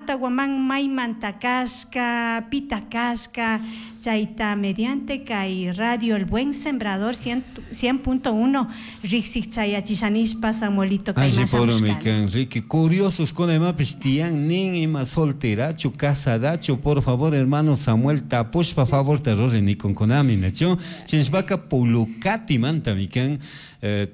Marta Guamán maymanta kashka, pita kashka, chayta mediante kay Radio El Buen Sembrador 100.1 riksik chayachishanishpa Samuelito kay Alli poromi kan, Ricky, curiosos kuna imapish tiyan nin ima solterachu, casadachu, por favor hermano Samuel tapushpa favorta ruri nikunkunami, nachu? Chinshpaka Pulucatimantami kan,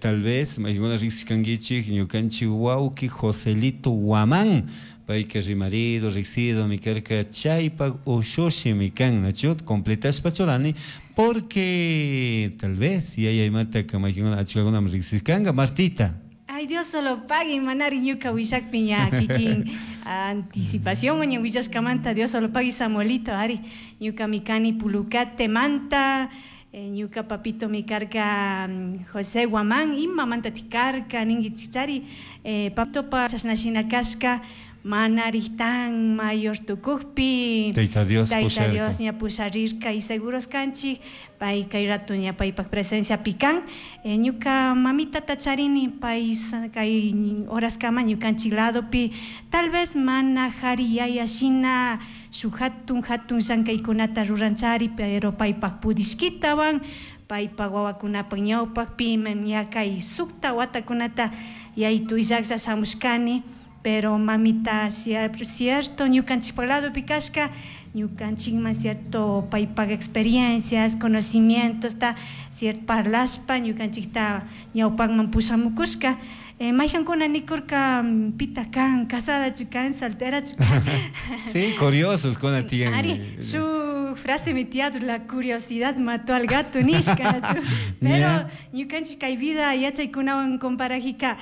tal vez maykuna riksishkankichik ñukanchik wawki Joselito Guamán, payka rimarido, riksidomi karka, chaypak ushushimi kan, nachu? Completashpa churani, porque tal vez yaya imataka maykuna achkakunami riksishkanka, Martita. Ay, Dios solo pague, manari ñuka willakpi ña kikin anticipación ña willashkamanta, Dios solo pague Samuelito, ari, ñuka mikani Pulucate manta, ñuka papito mi karka José Guamán, ima manta tikarka, ningi chichari, papito pa chashnashina kashka, manari tan mayor tukukpi, Tayta Dios Tayta pusharka. Dios ña pusharirka y seguros kanchik, pay kay rato ña paypak presencia pican, ñuka mamita tacharini pay kay horas kama ñukanchik ladopi, tal vez mana jari yaya shina shuk hatun hatun llankaykunata ruranchari, pero paypak pudishkitawan, paypak wawakunapak ñawpakpi ña kay sukta watakunata yaytu illaklla shamushkani, pero mamita cierto ñukanchikpak ladopi kashka, ñukanchikman cierto paypak experiencias, conocimientos, ta cierto parlashpa ñukanchikta ñawpakman pushamukushka. Mayhankuna nikurka, pita kan, casadachu kan, solterachu kan. Sí, curiosos kuna tiyan. Ari, su frase mi tía, la curiosidad mató al gato, nishka, chu. Pero ñukanchik kay vida yachaykunawan comparajika,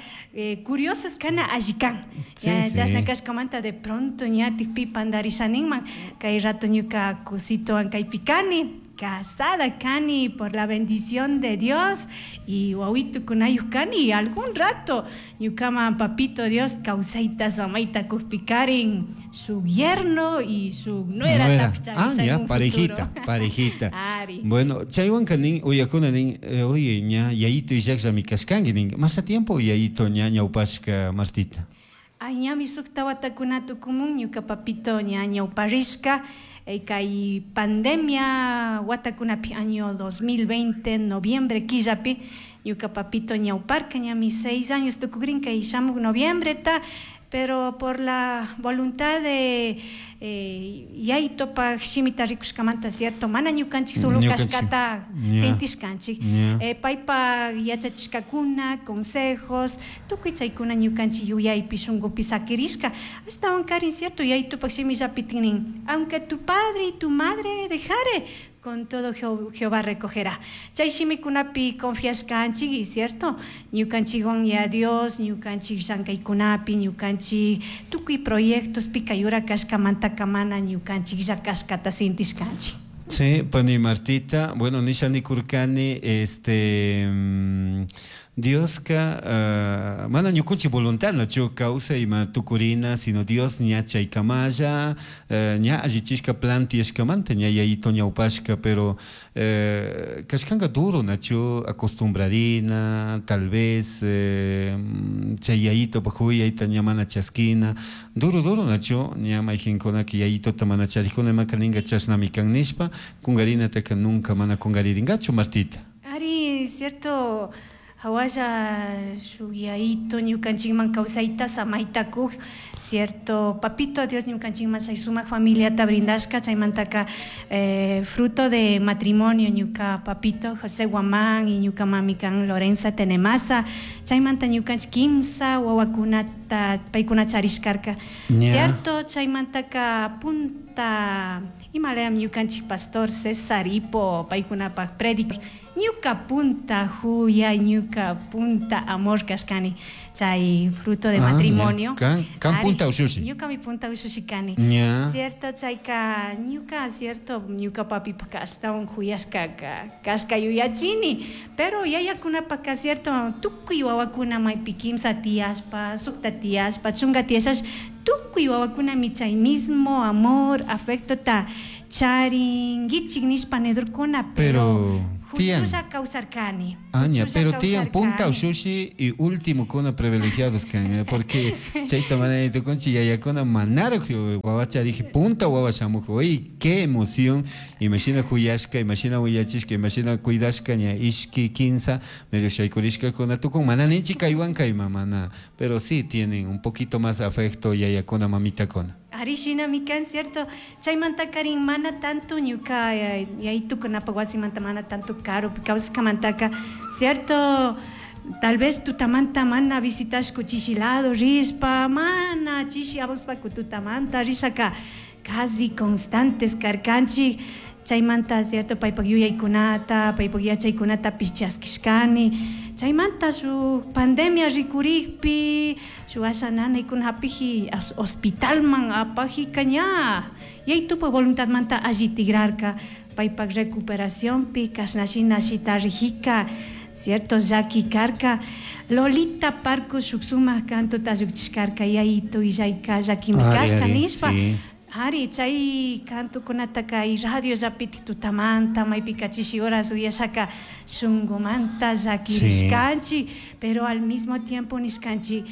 curiosos kana allikan. Ya, chasna kashkamanta de pronto ñatik pi pandarishaninman, kay rato ñuka kusitowan kaypi kani, casada kani por la bendición de Dios y wawito kunayuj kani y algún rato ñukaman papito Dios kawsayta samayta kujpikarin su yerno y su nuera Nuera. tapcha, Ah, ya ya, en un parejita, futuro. parejita. Ari. Bueno, chaywanka nin, uyakuna nin, oye, ña, yayito illakllami kashkanki nin, más a tiempo yayito ña ñawpashka, Martita. Ay, ñami sukta watakuna tukumun, ñuka papito ña ñawparishka, kay pandemia watakunapi año 2020, noviembre killapi, ñuka papito ñawparka, ñami 6 años tukukrin kay shamuk noviembre ta, pero por la voluntad de yaytopak shimita rikushkamanta, cierto, mana ñukanchik solo Ñukanchik. kashkata sentishkanchik. Paypak yachachishkakuna, consejos, tukuy chaykuna ñukanchik yuyaypi shunkupi sakirishka. Ashtawan karin, cierto, yaytopak shimillapi nin, aunque tu padre y tu madre dejare, con todo Jehová recogerá. Chay shimikunapi confiashkanchik, y cierto, ñukanchikwan ya Dios, ñukanchik llankaykunapi, ñukanchik tukuy proyectos pikayura kashkamanta kamana ñukanchik llakashkata sintishkanchik. Sí, pani Martita, bueno, nisha nikurkani, Dioska, mana ñukunchik voluntad nachu kawsay ima tukurina, sino Dios ña chaykamalla, ña allichishka plantiashkamanta, ña yayito ñawpashka, pero kashkanka duro nachu acostumbradina, tal vez chay yayito pa huyayta ña mana chaskina, duro duro nachu ña mayqinkunaka yayitota mana charikuna imaka ninka chashnami kan nishpa, kungarinataka nunca mana kungaririnkachu, Martita. Ari, cierto, hawalla shuk yayito ñukanchikman kawsayta samayta kuj, cierto, papito Dios ñukanchikman chay sumak familiata brindashka, chaymantaka, fruto de matrimonio ñuka papito José Guamán y ñuka mami kan Lorenza Tenemasa, chaymanta ñukanchik kimsa wawakunata paykuna charishkarka. Cierto, chaymantaka punta imalayam ñukanchik pastor César Hipo paykunapak predic, ñuka punta huya, ñuka punta amor kashkani, chay fruto de Ah, matrimonio. ya. Kan, kan Ari, punta ushushi. Ñuka mi punta ushushi kani. Cierto, chayka ñuka, cierto, ñuka papi paka ashtawan huyashka ka, kashka yuyachini, pero yayakunapaka, cierto, tukuy wawakuna maypi kimsa tiyashpa, sukta tiyashpa, chunka tiyashash, tukuy wawakuna mi chay mismo amor, afecto ta charinguichik nishpa nidurkuna, pero Pero Huchulla kawsarkani. Aña, pero tiyan punta ushushi y último kuna privilegiados kan, porque chayta mana tukunchi yayakuna manaraj wawa chariji punta wawa shamuj, uy, qué emoción, imashina huyashka, imashina willachishka, imashina cuidashka ña ishki kinsa medio shaykurishkakuna tukun, mana ninchi kaywan kayma mana, pero sí tienen un poquito más afecto yayakuna mamitakuna. Ari shinami kan, cierto. Chaymantakarin mana tanto ñuka yayitukunapaq wasimanta mana tanto karupi kawsashkamantaka, cierto. Tal vez tutamanta mana visitashku chishi lado rishpa, mana chishi avanzpaku tutamanta rishaka casi constantes karkanchik. Chaymanta, cierto, paypak yuyaykunata, paypak yachaykunatapish chaskishkani. Chaymanta shuk pandemia rikurikpi, shuk asha nanaykuna hapiji hospitalman apajika ña yaytupak voluntadmanta alli tigrarka, paypak recuperacionpi kashna shina shitarijika, cierto, llaki karka. Lolita Parco shuk sumak cantota llukchishkarka yayitu illayka llakimi kashka nishpa. Ari, chay cantokunataka y radio llapiti tutamanta maypika chishi horas uyashaka shunkumanta llakirishkanchik, pero al mismo tiempo nishkanchik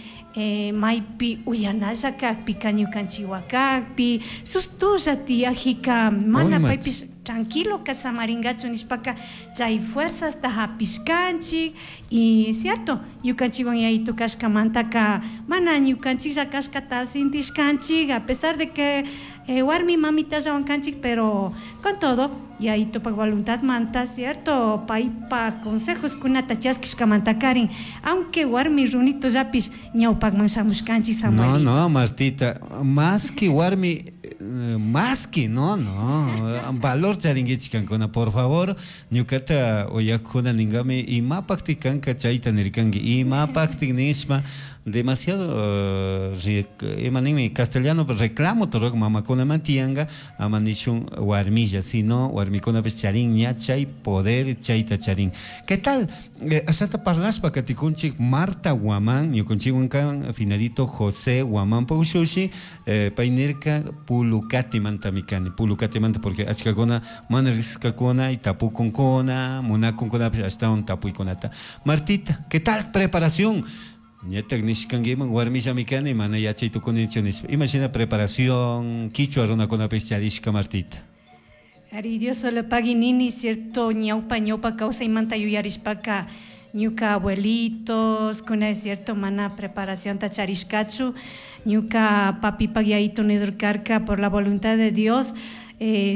maypi uyanalla kakpika ñukanchik wakakpi sustulla tiyajika mana paypish tranquilo kasamarinkachu nishpaka chay fuerzasta hapishkanchik. Y cierto, ñukanchikwan yayitu kashkamantaka mana ñukanchiklla kashkata sintishkanchik, a pesar de que warmi mamitallawan kanchik, pero con todo yayitupak voluntadmanta, cierto, paypak consejoskunata chaskishkamantakarin, aunque warmi runitollapish ñawpakman shamushkanchik, Samuelito. No, no, Martita, más que warmi, más que no, no, valor charinkichik kankuna, por favor, ñukata uyakuna ninkami, imapaktik kanka chayta nirkanki, imapaktik nishpa, demasiado, ima ninmi castellano reclamo turuq mamakunaman tiyanka, ama nishun warmilla, sino warmikunapish charin ña chay poder chayta charin. ¿Qué tal? Ashata parlashpa katikunchik Marta Guamán, ñukunchikwan kan finadito José Guamán paushushi, pay nirka Pulucatimantami kani, Pulucatimanta porque achkakuna mana riqsiskakuna y tapukunkuna, munakunkunapish ashtawan tapuykunata. Martita, ¿qué tal preparación? Ñatak nishkankiman warmillami kani, mana yachay tukunichu nishpa. Imashina preparación quichua runakunapish charishka, Martita? Ari, Dios solo pagui nini, cierto, ñawpa, ñawpa kawsaymanta yuyarishpaka ñuka abuelitos, kuna es cierto, mana preparación ta charishkachu, ñuka papipak yayitu nidurkarka por la voluntad de Dios.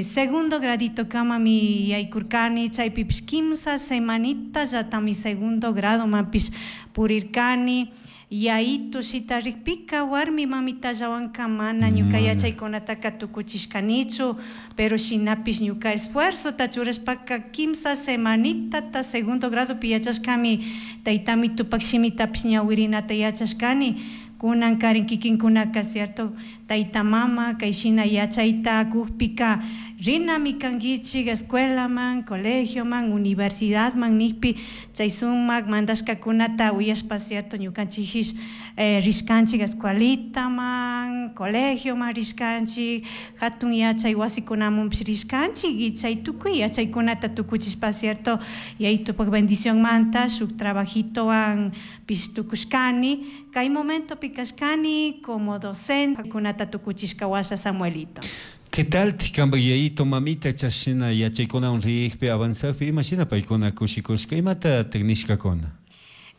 Segundo gradito kama mi yaykurkani, chaypipish kimsa semanita yatami segundo grado mapish purirkani. Yayitu shitarikpika warmi mamitallawanka mana ñuka yachaykunataka tukuchishkanichu, pero shinapish ñuka esfuerzota churashpaka kimsa semanitata segundo gradopi yachashkami, taytami tupak shimitapish ñawirinata yachashkani. Kunan karin kikinkunaka, cierto, tayta mama kay shina yachayta kukpika rinami kankichik escuelaman, colegioman, universidadman nikpi chay sumak mandashkakunata uyashpa, cierto, ñukanchikish rishkanchik escuelitaman, colegioman rishkanchik, hatun yachay wasikunamanpish rishkanchik y chay tukuy yachaykunata tukuchishpa, cierto, yayitupak bendicionmanta shuk trabajitowan pish tukushkani. Kay momentopi kashkani como docente kunata tukuchishka washa, Samuelito. ¿Qué tal kanpak yayito mamita chashina yachaykunawan rikpi avanzakpi imashina paykuna kushikushka imata nishkakuna?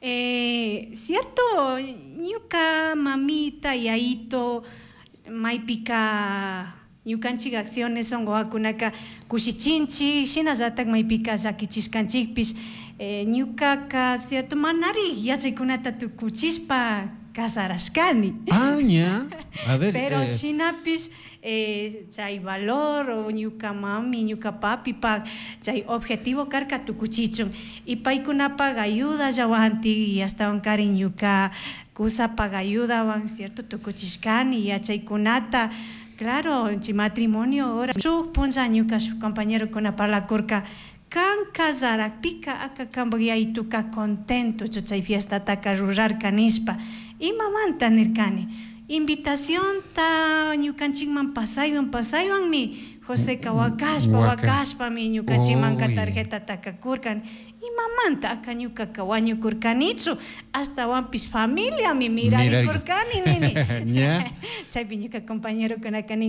Cierto, ñuka mamita yayito maypika ñukanchik acciones son wawakunaka kushichinchik, shinallatak maypika llakichishkanchikpish. Ñukaka, cierto, manari yachaykunata tukuchishpa casarashkani. Ah, ña. A ver, Pero shinapish chay valor o ñuka mami, ñuka papi pak chay objetivo karka tukuchichun. Y paykunapak ayuda llawanti y ashtawan karin ñuka kusapak ayudawan, cierto, tukuchishkani yachaykunata. Claro, chay matrimonio ahora. Shuk punlla ñuka shuk compañerokuna parlakurka, kan casarakpika aka kanpak yayituka contento chay fiestataka rurarka nishpa. Imamanta nirkani. Invitacionta ñukanchikman pasaywan pasaywanmi Joseca wakashpa wakashpami ñukanchikmanka tarjetataka kurkan. Imamanta aka ñukaka wañukurkanichu ashtawanpish familiami mirarikurkani nini. Chaypi ñuka compañerokunaka nin.